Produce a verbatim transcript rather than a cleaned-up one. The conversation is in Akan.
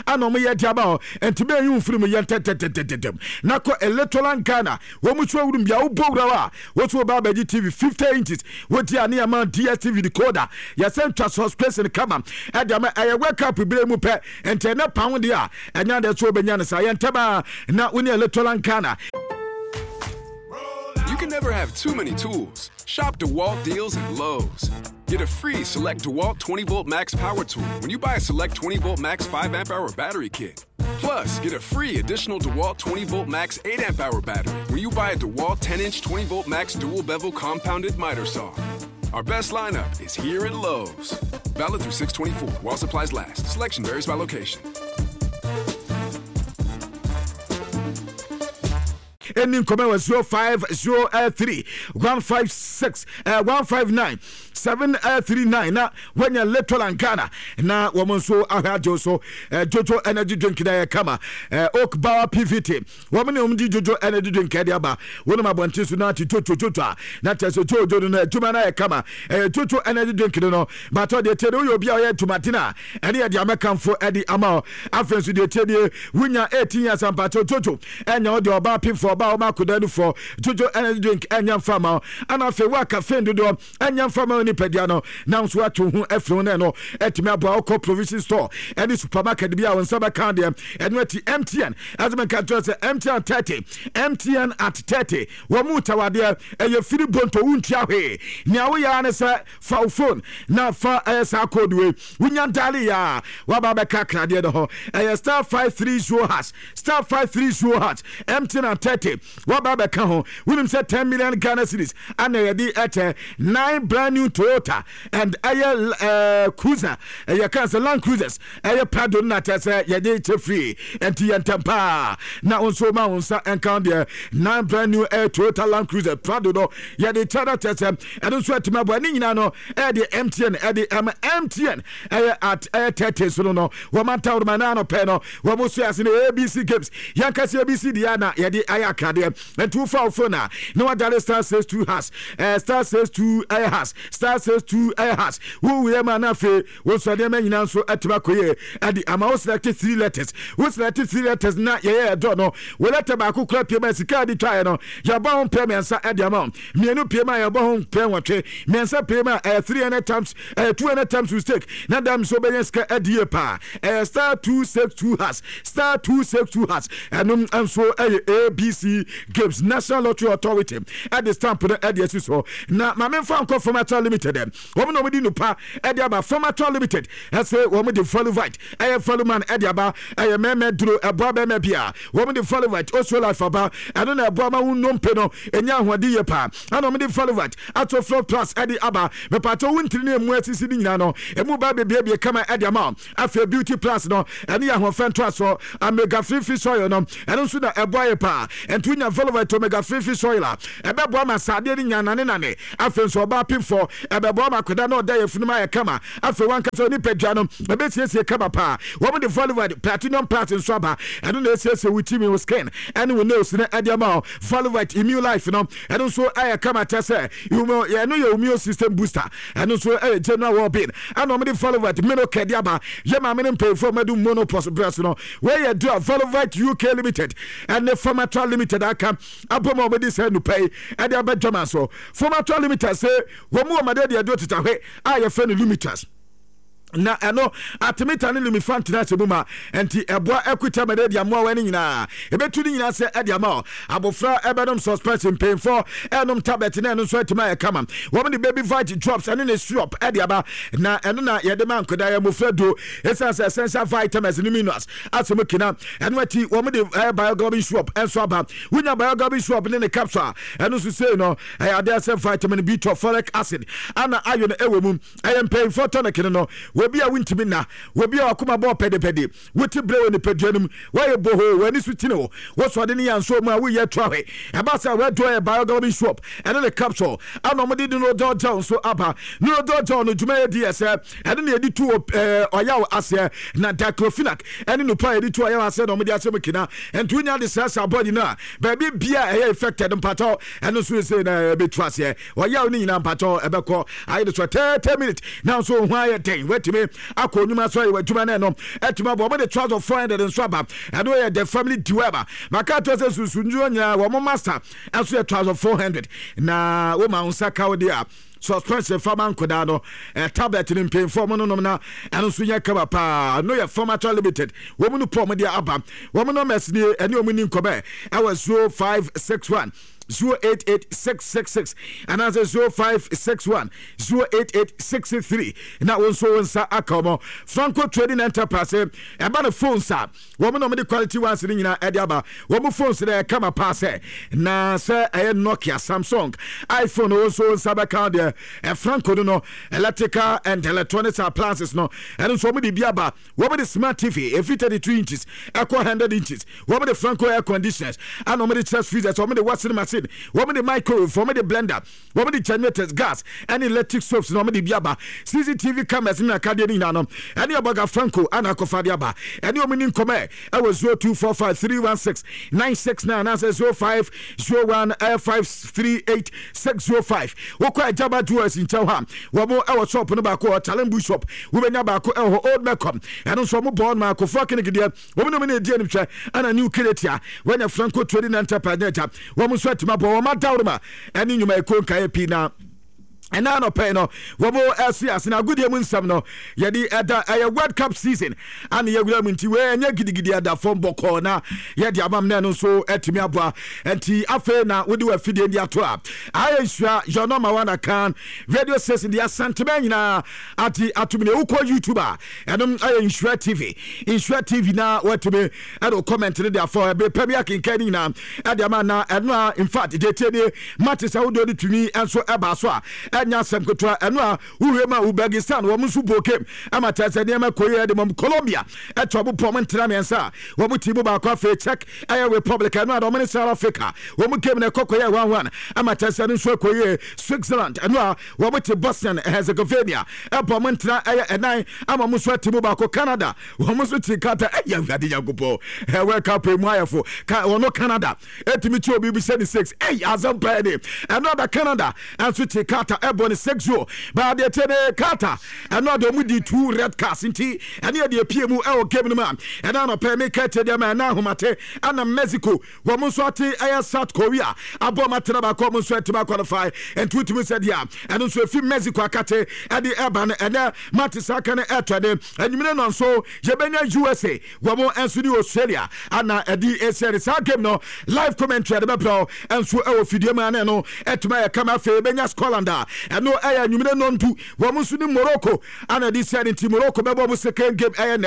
Ana ɔmo yɛ de aba hɔ, nti bɛyɛ yi mfiri mu yɛ ntɛntɛntɛntɛm na kɔ Electoral Ghana. Wɔn mu so awurum bia wobɔ wura hɔ a, woso wɔba abɛgye T V fifty inches wodi a ne yɛ ma D S T V decoder, yɛsɛ ntwa subscription kama ɛde ama. Ɛyɛ World Cup bere mu pɛ, nti ɛnɛ pan deɛ a ɛnya deɛ so wobɛnya no saa yɛ ntɛm a na wo ne Electoral Ghana. You can never have too many tools. Shop DeWalt deals at Lowe's. Get a free Select DeWalt twenty volt max power tool when you buy a Select twenty volt max five amp hour battery kit. Plus, get a free additional DeWalt twenty volt max eight amp hour battery when you buy a DeWalt ten inch twenty volt max dual bevel compounded miter saw. Our best lineup is here at Lowe's. Valid through six twenty-four while supplies last. Selection varies by location. Ɛni nkɔmɛ wɔ zero five zero three one five six one five nine seven three nine na wanya Letolan Ghana na wɔn nso ahwɛ agye so. Jojo energy drink na yɛ kama. Oak Power P V T, wɔn ne wɔn di Jojo energy drink ɛde aba. Wɔn abɔnten so na ate jojo jojo a na kyerɛ sɛ jojo no no adwuma no ayɛ kama. Ɛyɛ Jojo energy drink no no batɔ deɛ tie de woyɛ obi a ɔyɛ adwumaden a, ɛne yɛde amɛkamfo ɛde ama wo. Afei nso deɛ tie deɛ wonya eighteen years ampakyɛw, jojo ɛnya wo deɛ ɔbaa pimfo, ɔbaa ɔma akoda nufoɔ, Jojo energy drink ɛnya mfa ma wo. Ana afei wo a caffeine dodoɔ ɛnya mfa ma wo nipadua no na nso ato ho afiri ho no, ɛno ɛtumi aboa. Wokɔ provision store ɛne supermarket bi a, wo nsa bɛka deɛ ɛno akyi. M T N ɛsɛ mɛka kyerɛ sɛ M T N thirty, M T N at thirty, wɔn mu tawadeɛ ɛyɛ firi bonto, wontua hwee. Nea woyɛ ne sɛ fa wo phone na fa ɛyɛ saa code wei, wonya dial yɛ a, waba bɛka kradeɛ no ho. Ɛyɛ star five three zero hash, star five three zero hash. M T N at thirty, waba bɛka ho. Wonim sɛ ten million Ghana cedis ana yɛde ɛkyɛ nine brand new Toyota and ɛyɛ ɛɛ cruiser, ɛyɛ kan sɛ Land Cruisers, ɛyɛ Prado no na kyɛ sɛ yɛde kyɛ free. Ɛnti yɛ ntɛm paa na wo nso ma wo nsa nka deɛ nine brand new ɛyɛ Toyota Land Cruiser Prado no yɛde kyɛ no, kyɛ sɛ ɛno nso atumi aboa ne nyinaa no. Ɛde M T N ɛde ɛma M T N ɛyɛ at ɛyɛ thirty so no no wɔn atawuruma naa no pɛ no wɔn so ase no A B C games. Yɛnkasi A B C deɛ na yɛde ayɛ akradeɛ. Nti wofa wo phone a na wadale star six two hash, ɛɛ star six two ɛyɛ hash, star six two ɛyɛ hash. Wowuyɛ ma na afei wo nso nneɛma nyinaa nso atumi akɔ yie ɛde ama wo. Select three letters, wo select three letters na yɛyɛ ɛdɔ no, wo letter baako kura pie ma sika adi twaeɛ no, yɛbɔ ho mpɛ mmiɛnsa ɛde ama wo. Mmienu pie ma yɛbɔ ho mpɛ nwɔtwe, mmiɛnsa pie ma ɛyɛ three hundred times, ɛyɛ two hundred times to stake na dam nso bɛyɛ sika ɛde yie paa. Ɛyɛ star two six two hash, star two six two hash. Ɛno nso ɛyɛ A B C games. National Lottery Authority ɛde stamp no ɛde asi so. Na maame nfa nkɔ Formatal Limited, wɔn na wɔn de nupa ɛde aba. Formatal Limited ɛsɛ wɔn de Folivite, ɛyɛ Foluman ɛde aba, ɛyɛ mɛmɛ duro, ɛboa bɛmɛ bia. Wɔn de Folivite Osuo Life aba, ɛno na ɛboa ma wɔn nnompe no enya ahoɔden yie paa. Ɛna wɔn de Folivite Atoflo Plus ɛde aba. Mepatɔ wo ntiri ne emu asisi ne nyinaa no emu ba bebiebie kama ɛde ama. Afei Beauty Plus no, ɛne yɛ ahoɔfɛ ntoasoɔ. Omega three fish oil no, ɛno nso na ɛboa yɛ paa. Ɛnti wonya Folivite omega three fish oil a, ɛbɛboa ma saadeɛ no nya nane nane. Afei nso ɔbaa pimfoɔ, ɛbɛboa ma akwadaa na ɔda yɛ funum ayɛ kama. Afei wankasa nipadua no ɛbɛsiesie kama paa. Wɔn de Folivite Platinum Plus nso aba, ɛno na ɛsiesie wo timi, wo skin ɛne wo nails no ɛde ama wo. Folivite Immune Life no, ɛno nso ɛyɛ kama kyɛ sɛ ɛno yɛ immune system booster, ɛno nso ɛyɛ general well-being. Ɛna wɔn de Folivite Menocare de aba, yɛ maame no mpanyinfoɔ mɛdu menopause berɛ so no. Wɔyɛ dua Folivite U K Limited ɛne Pharmatrol Limited aka abɔ mu a wɔde sɛ nupa yi ɛde aba dwama so. Pharmatrol Limited sɛ wɔn mu wɔn adeɛ deɛ ɛdo tetahwe a yɛfrɛ no Lumitas, na ɛno artemether ne lumefantrine ahyɛ mu ma, nti ɛboa ɛkuta malaria mmoawa no nyinaa, ɛbɛtu no nyinaa sɛ ɛde ama wo. Abɔfra ɛbɛnom suspension, mpanyinfoɔ ɛnom tablet na ɛno nso atumi ayɛ kama. Wɔn de Baby Vite drops ɛne ne syrup ɛde aba, na ɛno na yɛde ma nkwadaa, yɛ mmɔfra duro, ɛsiane sɛ essential vitamins ne minerals asɛ mu kina. Ɛno akyi wɔn de ɛyɛ Bioglobin syrup ɛnso aba. Wonya Bioglobin syrup ne ne capsule a, ɛno nso sei no ɛyɛ adeɛ sɛ vitamin B twelve, folic acid ana iron ɛwɔ mu. Ɛyɛ mpanyinfoɔ tonic no no Wɔbi a wontumi nna, wɔbi a wakoma bɔɔ pɛdepɛde, wote berɛ wɔ nipadua no mu, woayɛ bohoo, w'ani so kyini wo, wosɔde ne yɛnso mu a woyɛ to ahwɛ ɛba sɛ wɔaduro yɛ Bioglobin syrup ɛne ne capsule. Ana ɔmode de no gel nso aba. No gel no dwuma yɛ di yɛ sɛ ɛne ne yɛde tu ɔyaw aseɛ, na diclofenac ɛne nupa a yɛde tu ɔyaw aseɛ na ɔmode ahyɛ mu kina. Nti wonya de srasra body no a, baabi bia ɛyɛ infected mpatɔ, ɛno nso sɛ na ɛbɛtu aseɛ, ɔyaw no nyinaa mpatɔ ɛbɛkɔ ayɛ de so thirty minutes na nso ho ayɛ den. Watumi Watumi akɔ onwuma so ayɛ w'adwuma no, ɛno ɛtumi abɔ. Wɔn de trouser four hundred nso aba. Ɛno yɛ the family dweba maka to sɛ sunsunduo nyinaa wɔn master ɛnso yɛ trouser four hundred, na wɔma nsa ka wo deɛ a suspension fama nkɔdaa no, eh, tablet no mpanyinfoɔ mo nonom na ɛno nso yɛ kama paa. No yɛ Formator Limited, wɔn no pɔ wɔn de aba. Wɔn numbers nie, ɛne wɔn ni nkɔmɛ ɛwɔ zero five six one zero eight eight six six six anaasɛ zero five six one zero eight eight six three, na wɔn nso wɔn nsa aka wɔn. Franco Trading Enterprise, ɛba no phones a, wɔn na wɔn de quality ones no nyinaa ɛde aba. Wɔn phones no ɛkama paa sɛ na sɛ ɛyɛ Nokia, Samsung, iPhone, wɔn nso wɔn nsa bɛka deɛ. Franco no no electrical and electronics appliances no, ɛno nso wɔn de bi aba. Wɔn de smart T V efi thirty two inches ɛkɔ hundred inches. Wɔn de Franco air conditioners, ɛna wɔn de chest freezers, wɔn de washing machine, wɔn de microwave, wɔn de blender, wɔn de generators, gas ɛne electric stoves na wɔn de bi aba. C C T V cameras ne akadeɛ no nyinaa no, ɛne ɔbɔga Franco ana akɔfa de aba. Ɛne wɔn ni nkɔmɛ ɛwɔ zero two four five three one six nine six nine anaasɛ zero five zero one five three eight six zero five. Wokɔ Agyaba Jewels nkyɛn hɔ a, wɔn ɛwɔ shop no baako wɔ Challenge shop, wobɛnya baako ɛwɔ hɔ Old Mecom. Ɛno nso wɔn bɔ ɔno akɔfoɔ clinic deɛ, wɔn nom ne edi anim hwɛ, ɛna New Keretia wɔnya Franco Trading Enterprise ne agya wɔn nso atuma bɔ wɔn adawroma ɛne nnwumayɛkuo nkaeɛ pii. Na ɛna anɔpɛ no wɔn ɛso ase na agodie mu nsɛm no yɛde ɛda ɛyɛ World Cup season ana yɛwura mu, nti wei ɛnyɛ gidigidi, ɛda fam bɔkɔɔ na yɛde amam na ɛno nso ɛtumi aboa. Nti afei na wode wɔ afidie de ato a ayɛ nsua your number one Akan radio station de Asantema nyinaa ate atum ne wokɔ YouTube a, ɛnom ɛyɛ Nhyira T V, Nhyira T V, na watumi ɛde comment no de afa ɛbere pɛ bi akenkan no nyinaa ɛde ama. Na ɛno a, in fact, deɛ tie nie, mate sɛ wodeɛ wode tumi nso ɛbaa so a, ɛnyɛ asɛm ketewa. Ɛno a wohwɛ mu a, Uzbekistan wɔn nso bɔ game ama kyerɛ sɛ nneɛma kɔ yie de mɔm. Colombia ɛtɔ ɔmo pɔ ɔmo ntena mmiɛnsa a wɔn ti mu baako. Afei Czech ɛyɛ Republic, ɛno a wɔn ne South Africa wɔn game na ɛkɔ kɔ yɛ one one ama kyerɛ sɛ ɛno nso ɛkɔ yie. Switzerland, ɛno a wɔn te Bosnia and Herzegovina ɛbɔ ɔmo ntena ɛyɛ ɛnan ama ɔmo nso ati mu baako. Canada wɔn nso ti kata ɛyɛ Awurade Nyankopɔn ɛ World Cup emu ayɛfo ka wɔn. Canada ɛtumi kyi obi bi sɛ ne six, ɛyɛ asɛm pɛɛ de. Ɛno ada Canada ɛnso te Qatar ɛbɔ ne six zero baadeɛ tie ne Qatar, ɛno ada ɔmo di two red cards, nti ɛne yɛ deɛ pie mu ɛwɔ game no mu a ɛna anɔpɛ meka tie deɛ ma. Ɛna ahomate ɛna Mexico wɔn nso ate ɛyɛ South Korea abɔ ɔmo atena baako, ɔmo nso atumi aqualify. Nti wotumi sɛ deɛ ɛno nso efi Mexico akate ɛde ɛba no, ɛnɛ mate saa ka no ɛtɔ de enyimire no nso yɛbɛnya U S A wɔn nso ne Australia ana ɛde esi ɛde saa game no live commentary ɛde bɛbrɛw nso ɛwɔ fidie mu ana ɛno ɛtumi ayɛ kama. Afei yɛbɛnya Scotland a ɛno ɛyɛ enyimire nɔndu, wɔn nso ne Morocco ana ɛde si ɛde, nti Morocco bɛbɔ ɔmo second game ɛyɛ nɛ.